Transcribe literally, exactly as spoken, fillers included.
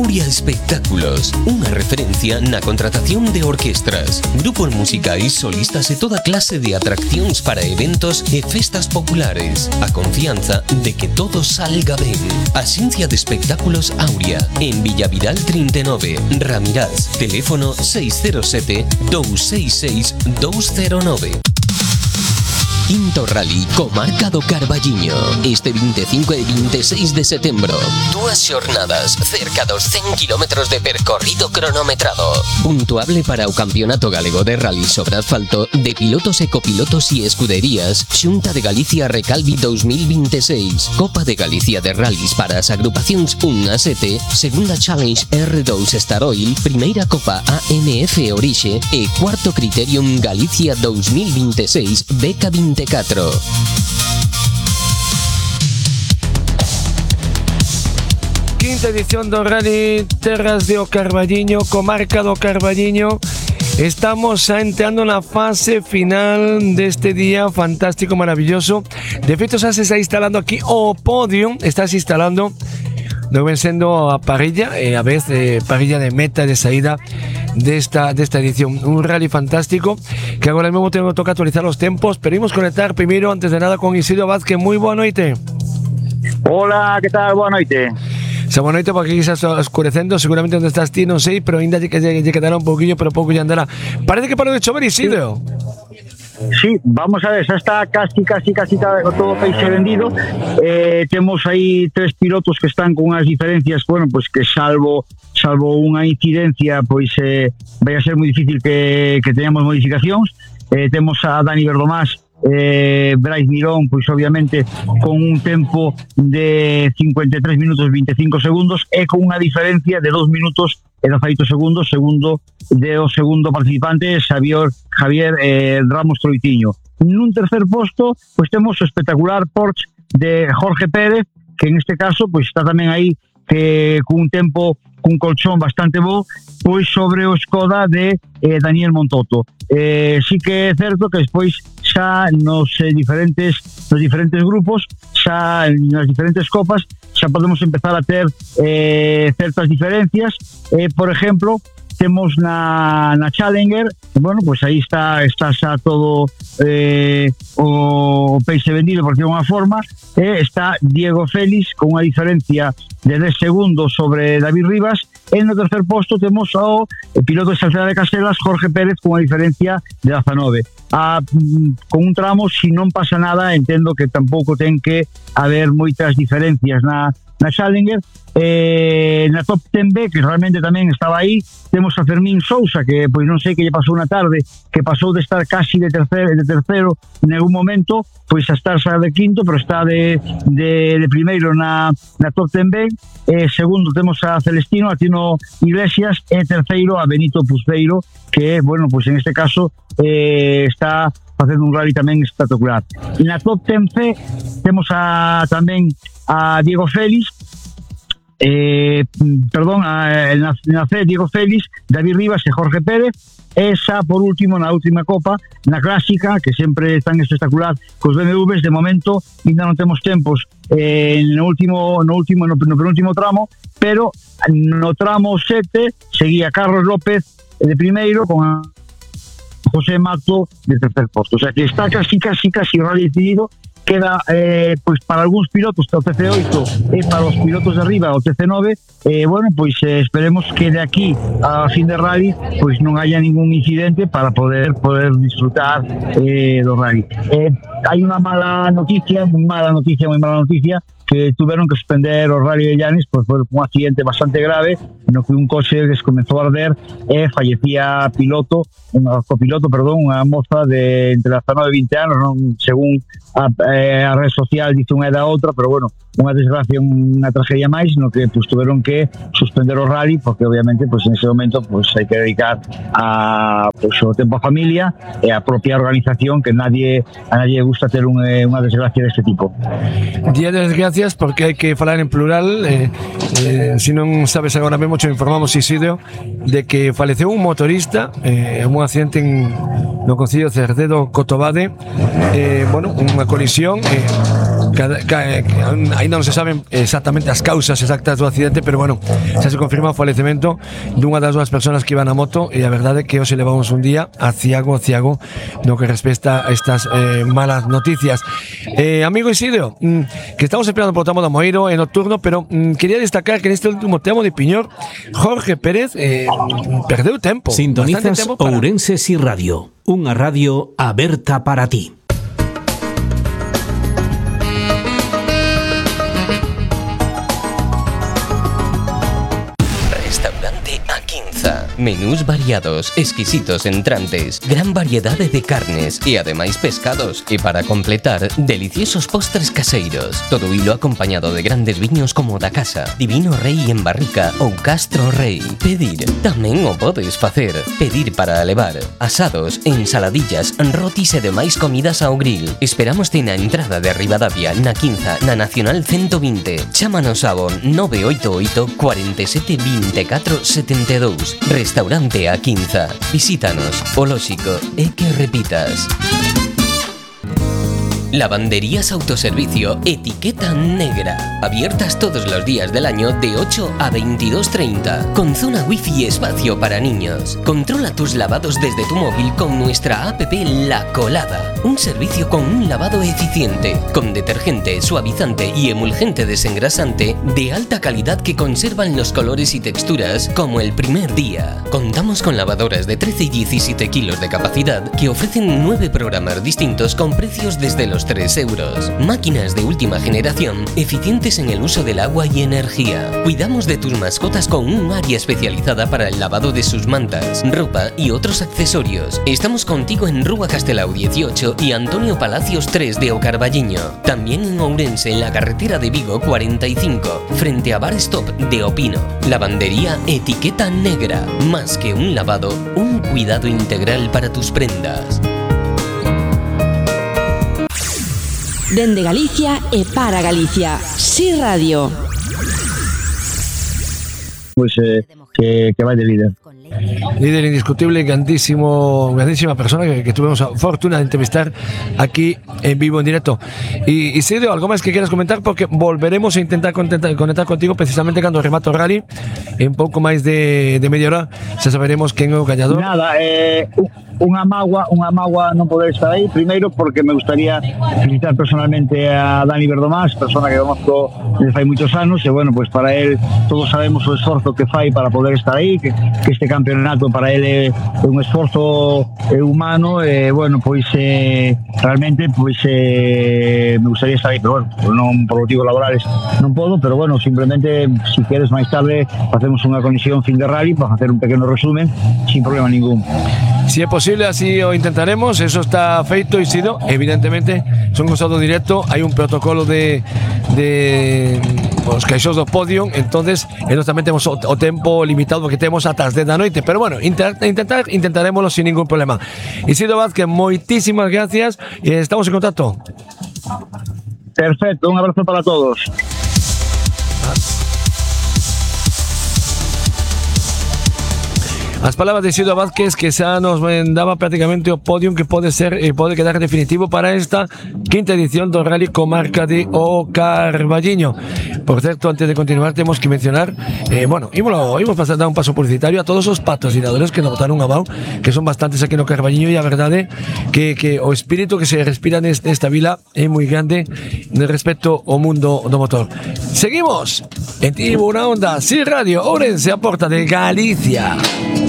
Aurea Espectáculos, unha referencia na contratación de orquestras, grupos musicais, solistas e toda clase de atraccións para eventos e festas populares. A confianza de que todo salga ben. Axencia de Espectáculos Aurea, en Villavidal trinta e nove, Ramirás, teléfono seis cero sete, dous seis seis, dous cero nove. Quinto Rally Comarca do Carballiño. Este vinte e cinco e vinte e seis de setembro. Dúas xornadas, cerca dos cen kilómetros de percorrido cronometrado. Puntuable para o Campeonato Galego de Rally sobre asfalto de pilotos e copilotos e escuderías. Xunta de Galicia Recalvi dos mil vinte e seis. Copa de Galicia de Rallys para as agrupacións un a sete. Segunda Challenge R dous Star Oil. Primeira Copa A M F Orixe. E cuarto Criterium Galicia dos mil vinte e seis Beca vinte e catro. Quinta edición do Rally Terras do Carballiño, Comarca do Carballiño. Estamos xa entrando na fase final deste día fantástico, maravilloso. De feito, xa se está instalando aquí o podio, está se instalando no ven sendo a parrilla, e a vez eh, parrilla de meta de saída desta, desta edición. Un rally fantástico que agora mesmo tengo que tocar actualizar os tempos, pero imos conectar primeiro, antes de nada, con Isidro Vázquez. Moi boa noite. Hola, que tal? Boa noite. Xa boa noite, porque aquí xa está escurecendo, seguramente onde estás ti non sei, pero ainda lle, lle, lle quedará un pouquinho, pero pouco lle andará. Parece que parou de chover, Isidro. Sí, vamos a ver, xa está casi, casi, casi todo o peixe vendido. Eh, temos aí tres pilotos que están con unhas diferencias, bueno, pois que salvo salvo unha incidencia, pois eh, vai a ser moi difícil que, que teñamos modificacións. Eh, temos a Dani Verdomás, eh, Brais Mirón, pois obviamente con un tempo de cincuenta e tres minutos vinte e cinco segundos e con unha diferencia de dos minutos e dezaoito segundos, segundo de o segundo participante, Xavier, Javier eh, Ramos Troitiño. Nun tercer posto, pois temos o espectacular Porsche de Jorge Pérez, que en este caso pois está tamén aí que cun tempo, cun colchón bastante bo, pois sobre o Skoda de eh, Daniel Montoto. Eh, sí que é certo que despois xa nos eh, diferentes nos diferentes grupos, xa nas diferentes copas, xa podemos empezar a ter eh, certas diferencias. Eh, por exemplo, temos na, na Challenger, bueno, pois aí está está xa todo eh, o peixe vendido, por decirlo de unha forma. Eh, está Diego Félix con unha diferencia de dez segundos sobre David Rivas. En no tercer posto temos ao piloto de Salceda de Caselas, Jorge Pérez, con unha diferencia de dezanove. A, con un tramo, si non pasa nada, entendo que tampouco ten que haber moitas diferencias na, na Challenger. Eh, na Top dez B, que realmente tamén estaba aí, temos a Fermín Sousa, que pois non sei que lle pasou na tarde, que pasou de estar casi de terceiro, de terceiro en algún momento, pois a estar xa de quinto, pero está de, de, de primeiro na, na Top dez B. Eh, segundo temos a Celestino, a Tino Iglesias, e terceiro a Benito Pusbeiro, que, bueno, pois en este caso eh, está facendo un rally tamén espectacular. Na Top dez C temos a, tamén a Diego Félix, eh, perdón, a, na, na C Diego Félix, David Rivas e Jorge Pérez. E xa por último, na última copa, na clásica, que sempre tan espectacular cos B M Ws, de momento ainda non temos tempos eh, no último no último no, no penúltimo tramo, pero no tramo sete seguía Carlos López de primeiro con a José Mato de tercer posto. O sea que está casi, casi, casi rally decidido. Queda, eh, pois para algúns pilotos o T C oito e para os pilotos de arriba o T C nove. Eh, bueno, pois eh, esperemos que de aquí a fin de rally pois non haya ningún incidente para poder poder disfrutar eh, do rally. Eh, hai unha mala noticia, moi mala noticia, moi mala noticia, que tuveron que suspender o Rally de Llanes, pois foi un accidente bastante grave no que un coche que comezou a arder e fallecía piloto, un copiloto, perdón, unha moza de entre dezanove e vinte anos, non según a, eh, a red social dice unha e da outra, pero bueno, unha desgracia, unha tragedia máis, no que pues, tuveron que suspender o rally, porque obviamente pues, en ese momento pues, hai que dedicar a, pues, o tempo a familia e a propia organización, que nadie a nadie gusta ter un, unha desgracia deste tipo. Día de desgracias, porque hai que falar en plural. eh, eh, si non sabes agora mesmo, te informamos, Isidro, de que faleceu un motorista eh, en un accidente en, no concello de Cerdedo, Cotobade. Eh, bueno, unha colisión eh, Ainda non se saben exactamente as causas exactas do accidente, pero bueno, xa se confirma o falecemento dunha das dúas persoas que iban na moto, e a verdade é que hoxe levamos un día a ciago, ciago no que respecta a estas eh, malas noticias. Eh, amigo Isidro, mm, que estamos esperando por o tramo do Moeiro en nocturno, pero mm, quería destacar que neste último tramo de Piñor, Jorge Pérez eh, perdeu tempo. Sintonizas tempo para... Ourense Si Radio, unha radio aberta para ti. Menús variados, exquisitos entrantes, gran variedade de carnes e ademais pescados. E para completar, deliciosos postres caseiros. Todo hilo acompañado de grandes viños como da casa, Divino Rei en barrica ou Castro Rei. Pedir, tamén o podes facer. Pedir para levar, asados, ensaladillas, rotis e demais comidas ao grill. Esperámoste na entrada de Ribadavia, na Quinza, na Nacional ciento vinte. Chámanos ao nove oito oito, cuatro sete, dos catro sete dous. Restaurante A Quinza. Visítanos, o lóxico é que repitas. Lavanderías Autoservicio Etiqueta Negra. Abiertas todos los días del año de ocho a veintidós treinta. Con zona wifi y espacio para niños. Controla tus lavados desde tu móvil con nuestra app La Colada. Un servicio con un lavado eficiente, con detergente, suavizante y emulgente desengrasante de alta calidad que conservan los colores y texturas como el primer día. Contamos con lavadoras de trece y diecisiete kilos de capacidad que ofrecen nueve programas distintos con precios desde los tres euros. Máquinas de última generación, eficientes en el uso del agua y energía. Cuidamos de tus mascotas con un área especializada para el lavado de sus mantas, ropa y otros accesorios. Estamos contigo en Rúa Castelao dieciocho y Antonio Palacios tres de Ocarballiño. También en Ourense, en la carretera de Vigo cuarenta y cinco, frente a Bar Stop de Opino. Lavandería Etiqueta Negra. Más que un lavado, un cuidado integral para tus prendas. Dende Galicia e para Galicia. Si Radio. Pues eh, que, que vai de líder. Líder indiscutible, grandísimo, grandísima persona que, que tuvimos la fortuna de entrevistar aquí en vivo, en directo. Y, y Sirio, ¿algo más que quieras comentar? Porque volveremos a intentar conectar, conectar contigo precisamente cuando remato rally. En poco más de, de media hora ya saberemos quién es el ganador. Nada, eh, unha mágoa, unha mágoa non poder estar aí, primeiro porque me gustaría felicitar personalmente a Dani Verdomás, persona que conozco desde fai moitos anos, e bueno, pues para él todos sabemos o esforzo que fai para poder estar aí, que, que este campeonato para él é un esforzo humano, e bueno, pois eh, realmente pois eh, me gustaría estar aí, pero bueno, non por motivos laborales non podo, pero bueno, simplemente si queres máis tarde facemos unha conexión fin de rally para facer un pequeno resumen sin problema ningún. Si es posible, así lo intentaremos. Eso está feito y sido. Evidentemente, son gozado directo. Hay un protocolo de, de los caixos do podio. Entonces, nosotros también tenemos o, o tempo limitado que tenemos hasta las diez de la noche. Pero bueno, intentar, intentar, intentaremoslo sin ningún problema. Isidro Vázquez, moitísimas gracias. Y estamos en contacto. Perfecto, un abrazo para todos. As palabras de Isidro Vázquez, que xa nos daba prácticamente o podium que pode ser e pode quedar definitivo para esta quinta edición do Rally Comarca de O Carballiño. Por certo, antes de continuar, temos que mencionar, eh, bueno, ímolo, ímos pasar a dar un paso publicitario a todos os patrocinadores que nos botaron abajo, que son bastantes aquí no Carballiño, e a verdade que, que o espírito que se respira nesta, nesta vila é moi grande respecto ao mundo do motor. Seguimos en Tribuna Onda, Si Radio, Ourense, a porta de Galicia.